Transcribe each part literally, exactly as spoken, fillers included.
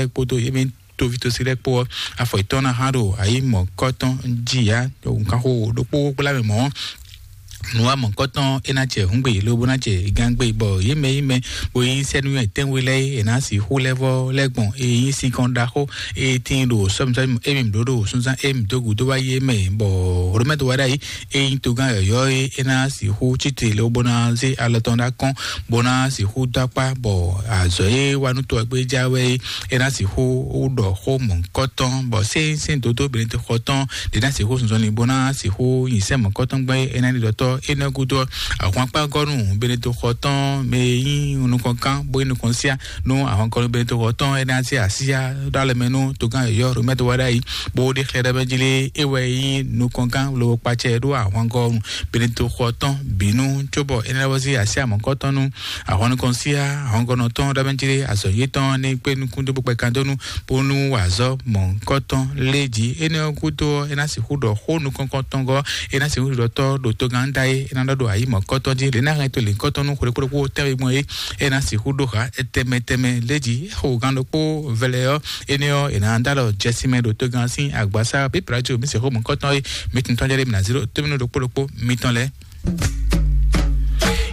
kpódó yě mɛ toví tosí lɛ́ɛ kpó ɔ́, afɔ yětɔn ná hán ɖo ayǐ mɔ̌kɔtɔn jí yá, nǔkanxó ɖokpó gbla mɛ mɔ̌. Nǔwa mɔ̌kɔtɔn é ná jɛ hǔngbe lóbó ná jɛ gángbe, bɔ yě mɛ yí mɛ bó yí sɛ́nú tɛ́nwe lɛ́ɛ é ná sixú lɛ́ vɔ́ lɛ́ gbɔn é nyí sinkɔn ɖaxó é tíin ɖo sɔ́mìsɔ́mì émi ɖó ɖo súnzán émi dó gǔdo wá yé mɛ, bɔ Romɛ́ wá ɖ'ayǐ é nyí togán yɔ̌yɔ́ é é ná sixú cíte lóbó ná zé alɔ tɔn ɖó akɔ́n bó ná sixú dó akpá, bɔ azɔ̌ e wa nú to ɔ́ gbé já wɛ é, é ná sixú ɖɔ xó mɔ̌hunkɔtɔn, bɔ sɛ́nsɛ́n dódó Benedikte xɔ tɔn ɖě ná sixú zɔnzɔnlin bó ná sixú nyi sɛ́n mɔ̌hunkɔtɔn gbɛ́ é ná ɖi ɖɔtɔ́ énɛ́ gúdo ɔ́, ahwan kpá gɔ́ nú Benedikte xɔ tɔn mɛ e nyí nukɔnkan bó nyí nukɔnsiá nú ahwan gɔ́ nú Benedikte xɔ tɔn é ná zé asíyá ɖó alɔ mɛ nú togán yɔ̌yɔ́ Romɛ́ wá ɖ'ayǐ, bó ɖe xlɛ́ ɖɔ mɛ jí lé é wɛ nyí nukɔnkan lobo kpacɛ ɖó ahwan gɔ́ nú Benedikte xɔ tɔn bǐ nú, cóbɔ é ná wá zé asíyá mɔ̌hunkɔtɔn nú ahwan nukɔn sí ahɔngɔnɔ tɔn ɖɔ mɛ jí azɔ̌ yětɔn ní kpé nukún dó bó kpɛ kan dó nú bónú wa azɔ̌ mɔ̌hunkɔtɔn lé jí. Énɛ́ ɔ́ gúdo ɔ́, é ná sixú ɖɔ xó nukɔn tɔn gɔ́, é ná sixú ɖɔ tɔ́ ɖo togán da é, é ná ɖɔ ɖo ayǐ mɔ̌kɔtɔn jí, lě ná hɛn to lǐnkɔtɔn nú xwlé kpóɖokpó tɛ́nwe gbɔn é, é ná sixú ɖó ha tɛmɛ tɛmɛ lé jí. Xo gán ɖokpó vɛlɛ ɔ́, énɛ́ ɔ́, è nǎ dó alɔ jɛsí mɛ ɖo togán sín agbasá pípra có mí sixú mɔ̌kɔtɔn é, mí tun tɔn jɛ ɖé mí ná zé ɖó tómínú ɖokpó ɖokpó mitɔn lɛ́ɛ.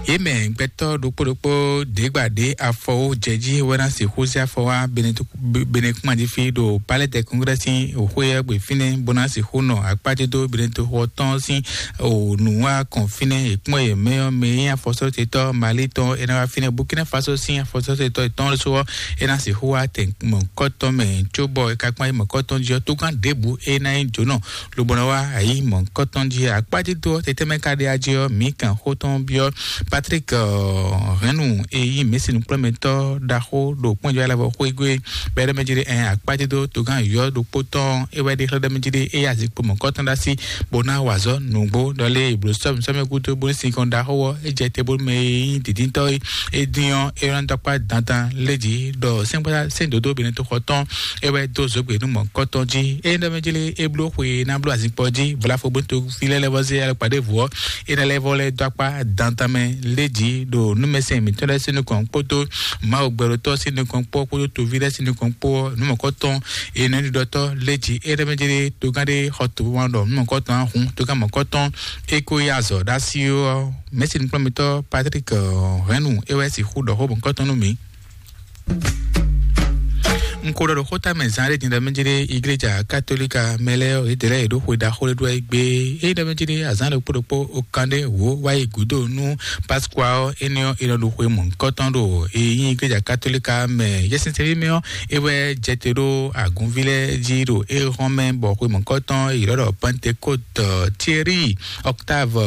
Yě mɛ gbɛtɔ́ ɖokpó ɖokpó ɖěgbà ɖě afɔ wó jɛ jí wɛ ná sixú zé afɔ wá Benekuma jí fí ɖo Palais des Congrès sín xwé ɔ́ gbe fínɛ́ bó ná sixú nɔ akpájé dó Benetoxɔ tɔn sín nǔwá kɔn fínɛ́. È kpɔ́n yě mɛ ɔ́, mɛ e nyí afɔsɔ́tetɔ́ Mali tɔn é ná wá fínɛ́. Burkina Faso sín afɔsɔ́tetɔ́ yětɔn lɛ́ɛ su ɔ́, é ná sixú wá tɛn mɔ̌kɔtɔn mɛ, cóbɔ é ka kpɔ́n ayǐ mɔ̌kɔtɔn jí ɔ́, tógán ɖěbǔ é ná nyí jǒnɔ lobo nɔ wá ayǐ mɔ̌hunkɔtɔn jí. Akpájédó ɔ́, tɛtɛ́ mɛ ka ɖe ají ɔ́, mǐ kan xó tɔn byɔ́ Patrick Hɛnnu e nyí mɛ̌si nukplɔ́nmɛtɔ́ ɖaxó ɖo kpɔ́njɔ alavɔ xwégbe bɛ́ ɖɔ mɛ jí ɖe ɛn akpájédó togán yɔ̌ ɖokpó tɔn é wɛ ɖe xlɛ́ ɖɔ mɛ jí ɖe é yí azikpo mɔ̌hunkɔtɔn ɖó así bó ná wa azɔ̌ nǔgbó ɖɔ lé blǒ sɔ́mi sɔ́mi gúdo bó ní sinkɔn ɖaxó ɔ́, é jɛ te bónú mɛ e nyí dǐndíntɔ́ é é dín ɔ́, é ná dó akpá dandan lé jí ɖɔ sɛ́nkpá sɛ́n dǒdó Benetoxɔ tɔn é wɛ dó zǒgbě nú mɔ̌hunkɔtɔn jí. É ɖɔ mɛ jí lé é bló xwe ná bló azinkpo jí vlafo bó toví lɛ́ɛ lɛ́ vɔ zé alɔkpa ɖěvo ɔ́, é ná lɛ́ vɔ lɛ́ dó akpá dandan mɛ lé jí ɖo númɛsɛn mǐtɔn lɛ́ɛ sín nukɔn kpódó Mawu gbɛɖotɔ́ sín nukɔn kpó kpódó toví lɛ́ɛ sín nukɔn kpó ɔ́, nǔmɔ̌kɔtɔn é nɔ ɖiɖɔtɔ́ lé jí. É ɖɔ mɛ jí lé togán ɖé xɔ tǒ wán ɖɔ nǔmɔ̌kɔtɔn á hun togán mɔ̌kɔtɔn é kó yí azɔ̌ ɖó así ɔ́, mɛ̌si nukplɔ́nmɛtɔ́ Patrick Hɛnnu é wɛ sixú ɖɔ xó mɔ̌kɔtɔn nú mǐ. Un ko ɖɔ ɖo xóta mɛ zán ɖé din ɖɔ mɛ jí ɖé igleja katolika mɛ lɛ́ɛ ɔ́, yědɛɛ lɛ́ɛ yě ɖo xwe ɖaxó ɖé ɖó wá yi gbé. Ényí ɖɔ mɛ jí ɖé azán ɖokpó ɖokpó okan ɖé wǒ wá yi gǔdo nú Pascua ɔ́, énɛ́ ɔ́, è nɔ ɖo xwe mɔ̌hunkɔtɔn ɖo e nyí igleja katolika mɛ. Yɛsinsɛnví mɛ ɔ́, é wɛ jɛ te ɖó agǔnví lɛ́ɛ jí ɖo éhɔ́n mɛ, bɔ xwe mɔ̌hunkɔtɔn è ylɔ́ ɖɔ Pentecôte. Thierry Octave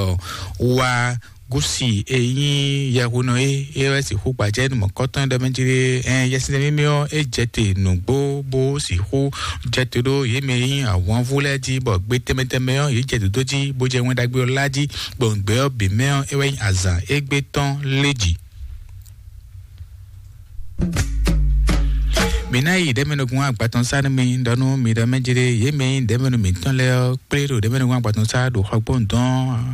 wa Gusi e nyí yɛhunɔ é, é wɛ sixú gbajɛ nú mɔ̌kɔtɔn ɖɔ mɛ jí ɖé. Ɛn yɛsinsɛn mímí ɔ́, é jɛ te nǔgbó bó sixú jɛ te ɖó yě mɛ e nyí ahwanvú lɛ́ɛ jí, bɔ gbe tɛnmɛ tɛnmɛ ɔ́, yě jɛ dǒdó jí bó jɛ Wɛn Ɖagbe ɔ́ lá jí, gbɔn gbɛ ɔ́ bǐ mɛ ɔ́, é wɛ nyí azǎn égbé tɔn lé jí. Mǐ ná yi ɖɛ̌mɛnɔgun agbatɔn sá nú mi ɖɔ nú mi ɖɔ mɛ jí ɖé, yě mɛ e nyí ɖɛ̌mɛnu mǐtɔn lɛ́ɛ ɔ́, kplé ɖo ɖɛ̌mɛnɔgun agbatɔn sá ɖo xɔgbónu dɔn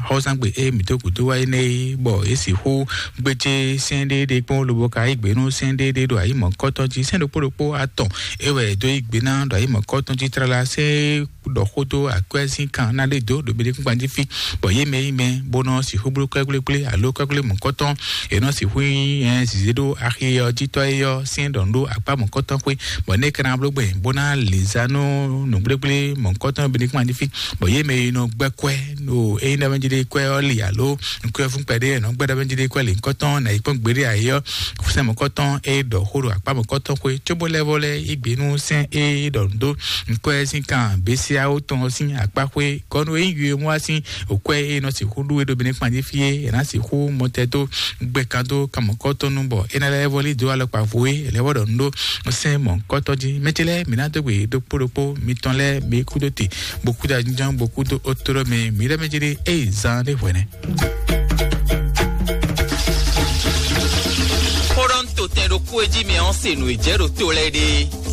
xɔ́sángbè e mǐ dó gǔdo wá é nɛ́ é, bɔ yě sixú gbéjé sɛ́n ɖé ɖé kpɔ́n lobo ka yí gbe nú sɛ́n ɖé ɖé ɖo ayǐ mɔ̌kɔtɔn jí. Sɛ́n ɖokpó ɖokpó atɔn é wɛ è dó yí gbe ná ɖo ayǐ mɔ̌kɔtɔn jí tlala. Sɛ́n ɖɔ xó dó akwɛ́ sín kan ná lé dó ɖo mɛɖékúngban jí fí, bɔ yě mɛ yí mɛ bó nɔ sixú bló kwɛ́gblégblégbé alo kwɛ́gblémɔ̌kɔtɔn, è nɔ sixú nyí zǐzé ɖó axi ɔ́ jí tɔ́ é ɔ́ sín ɖɔ nú ɖó akpá mɔ̌kɔtɔn xwé, bɔ nɛ́ ka ná bló gbɛn bó ná lǐnzá nú nǔgblégblémɔ̌kɔtɔn mɛɖékúngban jí fí, bɔ yě mɛ yi nɔ gbɛ́ kwɛ́ ɖo é nyí ɖɔ mɛ jí ɖé kwɛ́ ɔ́ li alo nukúnfún kpɛɖé è nɔ gbɛ́ ɖɔ mɛ jí ɖé kwɛ́ li ŋkɔtɔn ná yi kpɔ́n gbeɖé ayé ɔ́, sɛ́n mɔ̌kɔtɔn é ɖɔ xó ɖo akpá mɔ̌kɔtɔn xwé, cóbó lɛ́ vɔ lɛ́ yí gbe nú sɛ́n é ɖɔ nǔ dó nǔkpɛ́ sín kan běsíáwó tɔn sín akpá xwé. Kɔnu e nyí yue mɔ wá sín òkwɛ́ e nɔ sixú ɖú é ɖo Benɛ́kpan jí fí é, è nǎ sixú mɔtɛ dó gbɛ kan dó kan mɔ̌kɔtɔn nu, bɔ é ná lɛ́ vɔ lí dó alɔkpa vo é, è lɛ́ vɔ ɖɔ nǔ ɖó sɛ́n mɔ̌kɔtɔn jí. Mɛ ce lɛ́ɛ, mǐ ná dó gbe ɖokpó ɖokpó mitɔn lɛ́ɛ, mi kúdó te, bó kúdó ajínjɔ́n, bó kúdó ótó ɖɔ mɛ, mǐ lɛ́ mɛ jí ɖé, ée zán ɖé hwɛ̌ nɛ́. Xó ɖɔ un to tɛn ɖokpó e jí mɛ ɔ́ se nǔ e jɛ ɖo to lɛ́ɛ ɖe.